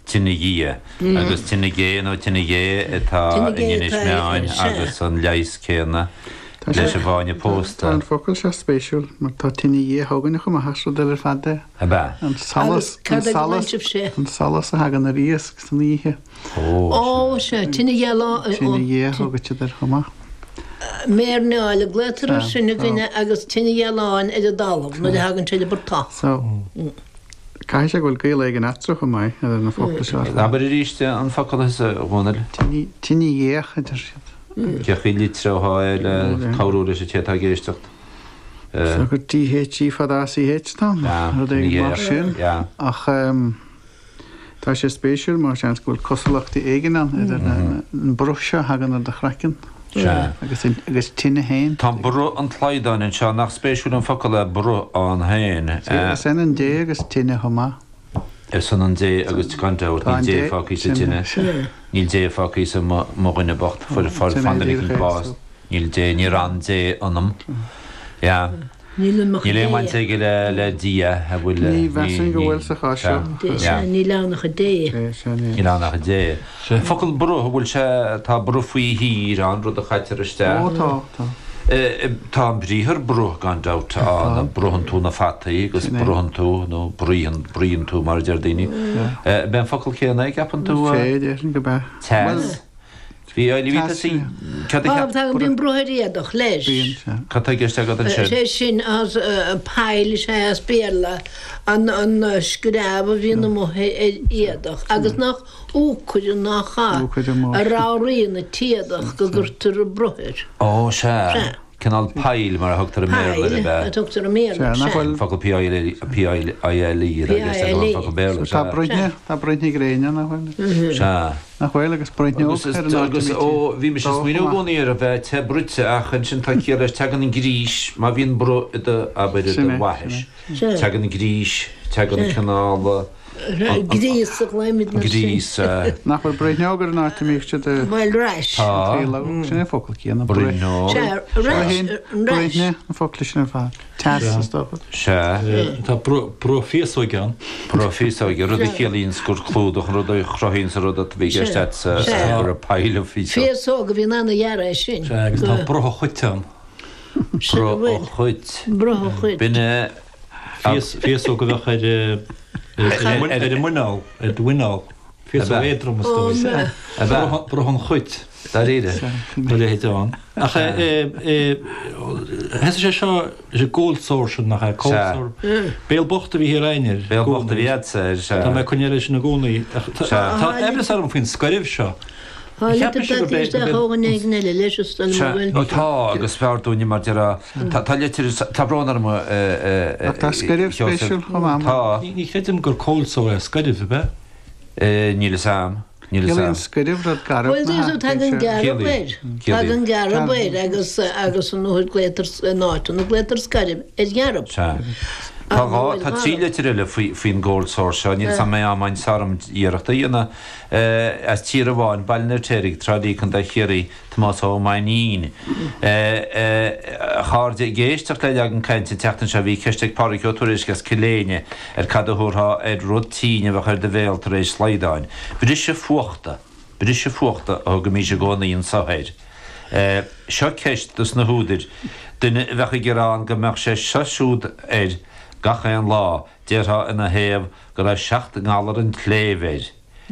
Tine Ghe agus Tine Gé nó Tine Ghé atá in Inis Meáin agus an leigheas céanna leis an bhfáinne pósta. Tá an focal seo spéisiúil mar tá tine Dhé chugainne chomh maith, is rud eile ar fad é. Ab ea? An solas, an solas, an solas a thagann ar iasc san oíche. Ó, sea, tine ghealáin. Tine Dhé a thugaid siad air chomh maith. Méirneáil a glaotar air sin againne agus tine ghealáin ar an dtalamh nuair a thagann sé le portach. So. Caithfidh sé go bhfuil gaol éigin eatarthu chomh maith, idir na focla seo ar fad. Abair arís an focal thusa, a Dhónaill. Tine ghéach, a deir siad. Cé chaoi a litreofá é le cabhrú leis an té atá ag éisteacht? Is dócha gur DHE fada ACH atá ann, rud éigin mar sin. Ach tá sé spéisiúil mar seans go bhfuil cosúlachtaí éigin ann idir an bruth seo a thagann ar do chraiceann agus tine féin. Tá bruth an tslaghdán anseo, nach spéisiúil an focal é bruth ann féin? Is ionann dé agus tine chomh maith. Is ionann dé agus gan dabht, níl dé fágtha sa tine. Níl dé fágtha sa mo dhuine bocht, fuair fan duine eicínt bás. Níl dé, níor fhan dé ionam. Yeah. Níl ann ach Níl aon bhaint aige le Dia, a bhfuil. Ní mheasaim go bhfuil sa chás seo. Sea, níl ann ach Dé. Níl ann ach Dé. An focal bruth, an bhfuil sé, tá bruth faoi thír ann, rud a chaitear isteach. Ó, tá, tá. Tá an briathar bruth gan dabht ann, bruthann tú na fataí agus bruthann tú, nó bruíonn, bruíonn tú mar a deir daoine. Ab é an focal céanna é, gceapann tú? Sea, déarfainn gurb ea. Teas. Bhí Bhí tusa Cad a cheap Tagann bíonn bruth ar éadach leis. Bíonn, sea. Cad tá i gceist agat ansin? Sé sin as pile is ea as Béarla an an screamh a bhíonn amuigh ar éadach agus nach úcaire nach ea a ramhraíonn an t-éadach go gcuirtear bruth air. Ó, sea. Sea. Cineál pile mar a thugtar i mBéarla air, ab ea? Pile a thugtar i mBéarla, sea. An focal P-I-L-E, P-I-L-E atá i gceist agam, an focal Béarla, sea. Tá bruithne, tá bruithne gréine, nach bhfuil? Sea. Nach bhfuil, agus bruithneog ar an áit a Agus, ó, bhí mise ag smaoineamh i gcónaí air a bheith te bruite ach ansin tá ciall leis, tagann an grís, má bhíonn bruth i do, abair, i do bhaithis, tagann an grís, tagann cineál, Gríos a ghlaoimidne air sin. Gríos, sea. Nach bhfuil bruithneog ar an áit a mbíodh siad ag. Bhuel, rash. Tá. Sin é an focal céanna. Bruithneog. Sea, rash. Bruithne, an focal sin ar fad. Teas, is dócha. Sea. Tá bruth féasóige ann. Bruth féasóige, rud a chiallaíonns gur clúdach an rud a chruthaíonns an rud a bhí i gceist agatsa go raibh pile of féasóg. Féasóg a bhíonn ana-ghearr é sin. Sea, agus tá bruth an chait ann. Bruth an chait. Bruth an chait. B'in é. Féasóg a bheadh ar ar an muineál, ar do mhuineál. Féasóg éadrom is dóigh. Bruth an chait. Dáiríre. Tá a leithéid ann. Ach thosaigh sé seo leis an gcold sore sin nach ea? Cold sore. Béal bocht a bhí thiar againn air. Béal bocht a bhí agatsa air, sea. Tá mé ag coinneáil leis sin i gcónaí. Tá aimhreas orm faoin scairbh seo. Tá litir tagtha isteach ó dhuine éigin eile leis is dóigh liom go bhfuil. Tá, agus b'fhearr dúinne mar déarfá. Tá litir, tá brón orm a Ach tá scairbh spéisiúil chomh maith. Tá. Ní chreidim gur cold sore é scairbh, ab ea? Níl fhios a'm. Níl fhios Ciallaíonn a'm. scairbh rud garbh Bhuel, nach ea? tagann gearb air. Tagann gearb Ciallaíonn. air agus agus an uair glaotar in áiteanna glaotar scairbh ar ghearb. Sea. Tá dhá, tá trí litir eile faoi, faoin gcold sore seo. Níl fhios a'm an mbeidh am a'inn orm iarracht a dhéanamh. As Tír an Bháin, Baile an Fheirtéaraigh, Trá Lí, Contae Chiarraí, Tomás Ó Mainnín. A chairde, ag éisteacht le Leagan Cainte an tseachtain seo bhí ceist ag Pádraig Ó Tuairisg as Cill Éinne ar cad a thabharfá ar rud tinn a bheadh ar do bhéal tar éis slaghdáin. Briseadh fuachta, briseadh fuachta a thugaimís i gcónaí anso air. Seo ceist dos na húdair, duine a bheadh ag gearán go mbeadh sé seo siúd air gach aon lá, déarfá ina thaobh go raibh seacht ngalar an tsléibhe air.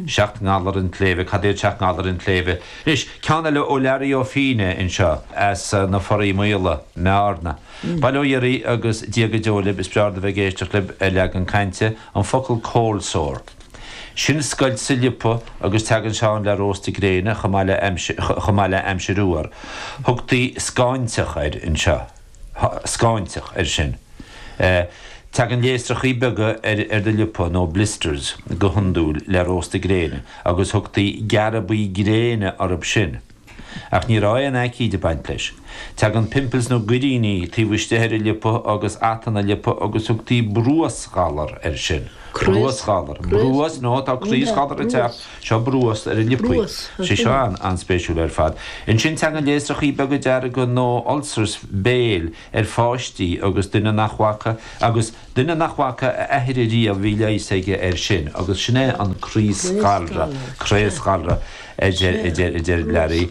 Seacht ngalar an tsléibhe, cad iad seacht ngalar an tsléibhe? Anois, ceann eile ó Learaí Ó Fíne anseo, as na Foraí Maola, mBearna. Bail ó Dhia oraibh agus Dia go deo libh, is breá liom a bheith ag éisteacht libh ar Leagan Cainte, an focal cold sore. Sin scoilt sa liopa agus teagann sé ann le rósta gréine chomh maith le chomh maith le aimsir fhuar. Thugtaí scáinteach air anseo. Scáinteach air sin. Tagann léasrachaí beaga ar do liopa, nó blisters, go hiondúil le rósta gréine, agus thugtaí gearbaí gréine orthu sin. Ach ní raibh aon aicíd ag baint leis. Tagann pimples nó goiríní taobh istigh ar an liopa agus atanna liopa agus thugtaí bruasghalar air sin. Bruasghalar. Bruas, nó tá craosghalar ag teacht, seo bruas ar an liopaí. Sé seo an-spéisiúil ar fad. Ansin tagann léasrachaí beaga dearga nó ulcers béil ar pháistí agus duine nach bhfaca, agus duine nach bhfaca a athair ariamh bhí leigheas aige air sin agus sin é an craosghalra, craosghalra a deir, a deir, a deir Larry.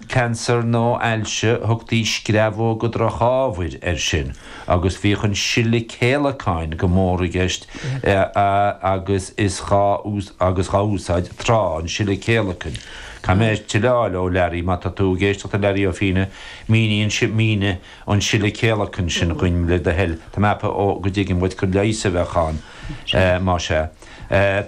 Cancer nó ailse, thugtaí screamhóga drochábhair air sin agus bhíodh an sileadh céalacain go mór i gceist agus is dhá agus dhá úsáid tráth, an sileadh céalacain. Caithfidh mé tuilleadh a fháil ó Larry, má tá tú ag éisteacht a Larry Ó Fianna, mínigh an mínigh an sileadh céalacain sin dhuinn le do thoil. Tá mé ag ceapadh ó go dtuigim dhuit gur leigheas a bheadh ann más ea.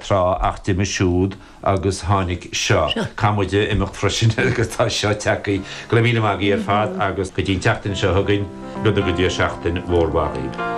Tráth ach d'imigh siúd agus tháinig seo. Caithfidh muid imeacht freisin agus tá seo tagtha. Go raibh míle maith agaibh ar fad agus go dtí an tseachtain seo chugainn, go dtuga Dia seachtain mhór mhaith dhaoibh.